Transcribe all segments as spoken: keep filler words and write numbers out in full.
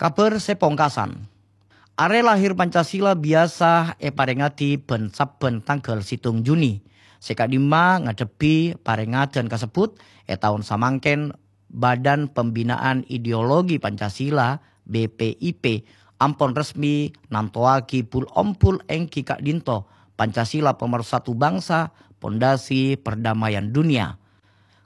Kabhâr sè pongkasan. Arè lahir Pancasila biyasa èparèngngaghi bân sabbhân tangghâl sèttong Juni. Sè ka'dimma ngaddhebbhi parèngngaghân kasebbhut, è taon samangkèn Badan Pembinaan Ideologi Pancasila, B P I P, ampon resmi nantowaghi bul-ombul èngghi ka'dinto Pancasila Pemersatu Bangsa, Pondasi Perdamaian Dunia.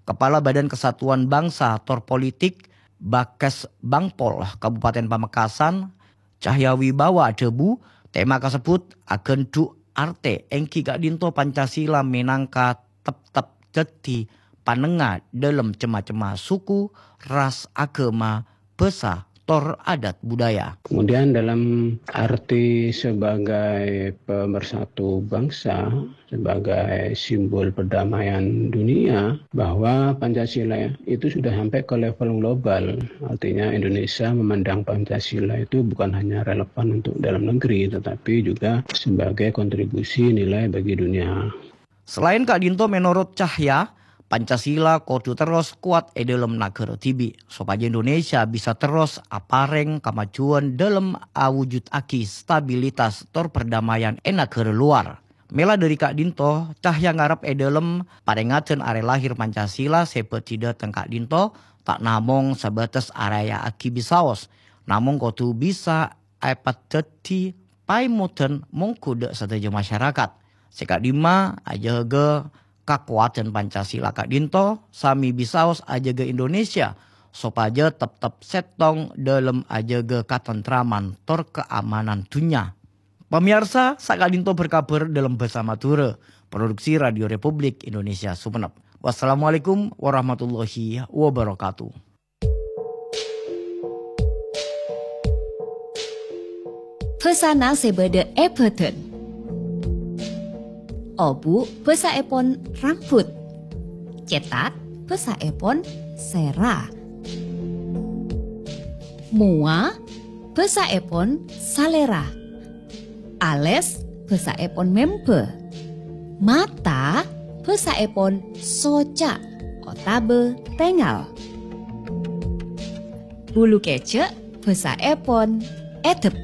Kepala Badan Kesatuan Bangsa tor Politik, Bakes Bangpol Kabupaten Pamekasan, Cahya Wibawa adhâbu, tema kasebbhut aghândhu' artè èngghi ka'dinto Pancasila mènangka teptep dhâddhi panengnga dhâlem cem-macemma suku, ras, aghâma, bhâsa, tor adat budaya. Kemudian dalam arti sebagai pemersatu bangsa, sebagai simbol perdamaian dunia, bahwa Pancasila itu sudah sampai ke level global. Artinya Indonesia memandang Pancasila itu bukan hanya relevan untuk dalam negeri, tetapi juga sebagai kontribusi nilai bagi dunia. Salaèn ka'dinto, mènorot Cahya, Pancasila kodhu terros kowat è dhâlem naghârâ dhibi', sopajâ Indonesia bisa terros aparèng kamajuwân dhâlem awujuddhâghi stabilitas tor perdamaian è naghârâ lowar. Mèla dhâri ka'dinto, Cahya ngarep è dhâlem parèngngaghân arè lahir Pancasila sè bhâdhi dhâteng ka'dinto ta' namong sabâtes araya'aghi bisaos, namong kodhu bisa èpadhâddhi paèmodhân mongghu dhâ' sadhâjâ masyarakat. Sè ka'dimma ajâgâ kakowadhân Pancasila ka'dinto, samè bisaos ajâgâ Indonesia sopajâ teptep sèttong dhâlem ajâgâ katentraman tor kaamanan dhunnya. Pamèyarsa, saka'dinto berkabar dhâlem bhâsa Madhurâ, produksi Radio Republik Indonesia Sumenep. Wassalamualaikum warahmatullahi wabarakatuh. Bhâsana sè bâdâ è bhâdhân. Obu' bhâsaèpon rambut. Cètak bhâsaèpon sèra. Mowa bhâsaèpon salèra. Alès bhâsaèpon mèmbâ. Mata bhâsaèpon soca' otabâ tèngal. Bulu kèjhâ' bhâsaèpon èdhep.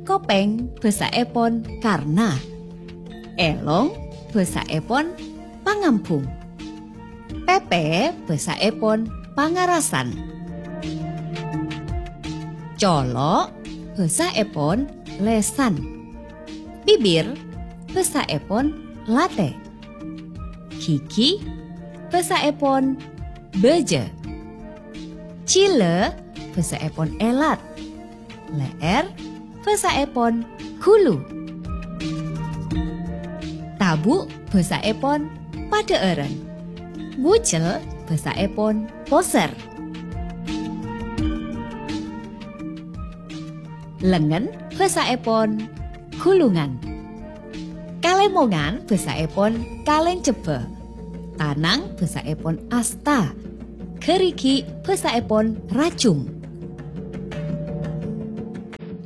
Kopèng bhâsaèpon karna. Èlong bhâsaèpon pangambhung. Pèpè bhâsaèpon pangarasan. Colo' bhâsaèpon lèsan. Bibir bhâsaèpon latè. Ghighi bhâsaèpon bâjâ. Jhilâ bhâsaèpon èlat. Lè'èr bhâsaèpon ghulu. Tabu' bhâsaèpon padhâ'ârân. Bujel bhâsaèpon posèr. Lengngen bhâsaèpon ghulungan. Kalèmongan bhâsaèpon kalèncebbhâ. Tanang bhâsaèpon asta. Ghârighi' bhâsaèpon rajung.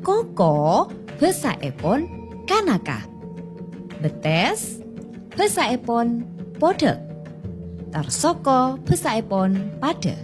Koko bhâsaèpon kanaka. Bettès bhâsaèpon podhâk. Tarsoko bhâsaèpon padhâ.